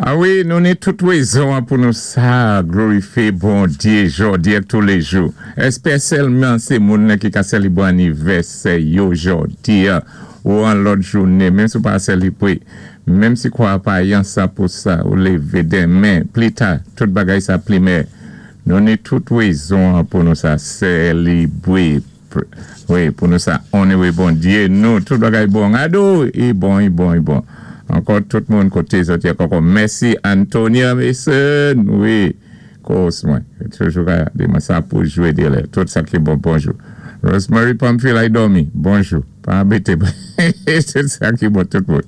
A wi, nou ni tout wézon an pou nou sa glorifyé Bondyé jòdi ak touléjou. Èspèsyèlman sé moun nan ki ka sélibwé anivèsè yo jòdi an ou an lòt jouné, menm si ou pa sélibwé, menm si kwa pa yan 100 pousa ou lévé denmen, plita, tout bagay sa plimè. Nou ni tout wézon an pou nou sa sélibwé. Wi, pou nou sa onowé Bondyé nou, tout bagay bon. Ado, i bon, i bon, i bon. Ankò tout moun koté zòt yé ankò. Mèsi Antonia Mason, wi, kòs mwen. Toujou ka di mwen sa pou jwé dé lè. Tout sa ki bon, bonjou. Rosemary Pamphile ay dòmi, bonjou. Pa anbété mwen. Tout sa ki bon, tout moun.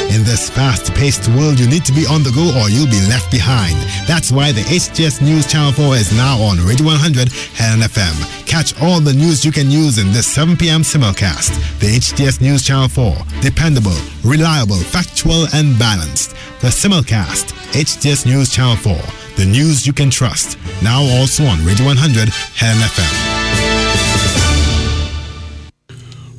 In this fast-paced world, you need to be on the go or you'll be left behind. That's why the HTS News Channel 4 is now on Radio 100 Helen FM. Catch all the news you can use in this 7 p.m. simulcast. The HTS News Channel 4. Dependable, reliable, factual, and balanced. The simulcast. HTS News Channel 4. The news you can trust. Now also on Radio 100 Helen FM.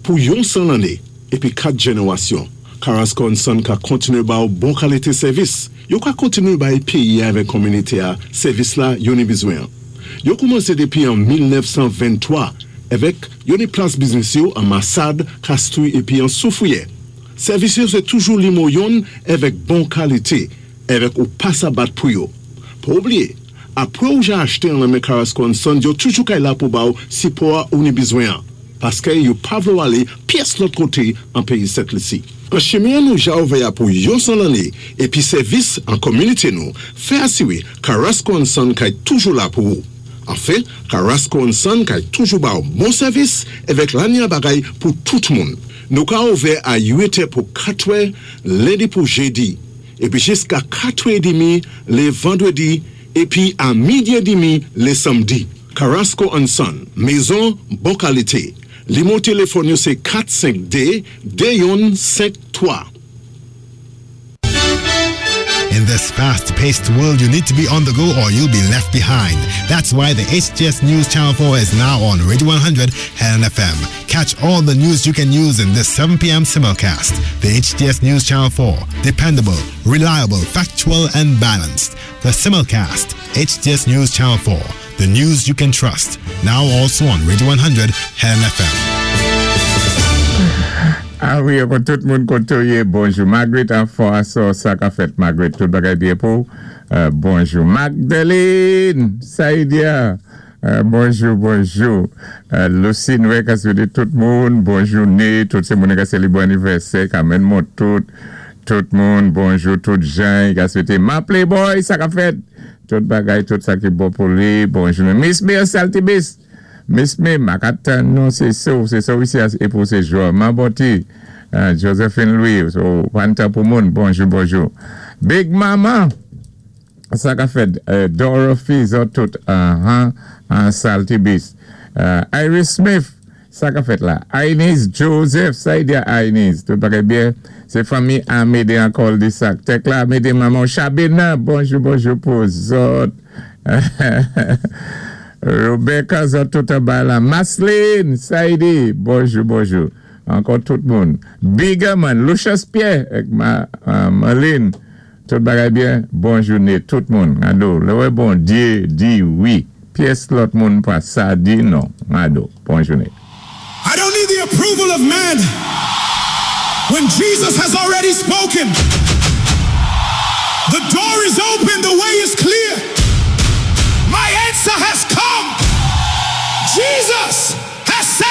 Pou yon 100 lanné épi 4 jénéwasyon, Carrasco Son ka kontinué ba ou bon kalité sèvis. Yo ka kontinué bay péyi avèk kominité a sèvis la yo ni bizwen. Yo koumansé dépi an 1923 avèk yo ni plas biznis yo an Massade, Castries épi an Soufrière. Sèvis yo sé toujou nimo youn avèk bon kalité avèk ou pa sa bat pou yo. Pa oubliyé, apwé ou ja achté an nan men Carrasco Son, yo toujou kay la pou ba ou sipò ou ni bizwen an. Paské yo pa vlé alé pyès lòt koté an péyi Sent Lisi. An chimen nou ja ouvè a pou yon 100 lanné épi sèvis an kominité nou, fè asiwé Carrasco Son kay toujou la pou ou. Anfen, Carrasco Son kay toujou ba ou bon sèvis avèk lanya bagay pou tout moun. Nou ka ouvè a 8 pou 4 lendi pou jédi, épi jiska 4 édmi lé vandwédi, épi a midi édmi lé sanmdi. Carrasco Son, mézon bon kalité. Nimo téléfòn yo sé 452 2153. In this fast-paced world, you need to be on the go or you'll be left behind. That's why the HTS News Channel 4 is now on Radio 100 Helen FM. Catch all the news you can use in this 7 p.m. simulcast. The HTS News Channel 4. Dependable, reliable, factual, and balanced. The simulcast. HTS News Channel 4. The news you can trust. Now also on Radio 100 Helen FM. A wi, ankò tout moun koté yé, bonjou. Margaret Anfò asò, sa ka fèt Margaret, tout bagay byen pou. Bonjou. Magdalene, Saïdia, bonjou, bonjou. Lucine, wè, ka swété tout moun, bonjou né, tout sé moun ka sélibwé anivèsè, Carmen Montout, tout moun, bonjou, tout Jean, ka swété ma Playboy, sa ka fèt. Tout bagay, tout sa ki bon pou li, bonjou. Miss Bill Saltibis, Miss Me, Makatan, non, sé so isi, é pou sé Joman Boti, Josephine Louis, so, panta pou moun, bonjou, bonjou. Big Mama, sa ka fèt, Dorothy, zòt tout, Saltibis. Iris Smith, sa ka fèt la. Inez Joseph, sa y di a Inez, tout bagay byen, sé fanmi Amédée an cul-de-sac. Tekla Amédée, maman Chabena, bonjou, bonjou pou zòt. Rebecca, zòt tout anba la. Masline, Saïdi, bonjou, bonjou. Ankò tout moun. Bigaman, Lucius Pierre, ek ma, Marlene, tout bagay byen, bonjou né, tout moun. Ado, lè wè Bondyé di wi. Pyès lòt moun pa sa di non. Ado, bonjou né. I don't need the approval of man when Jesus has already spoken.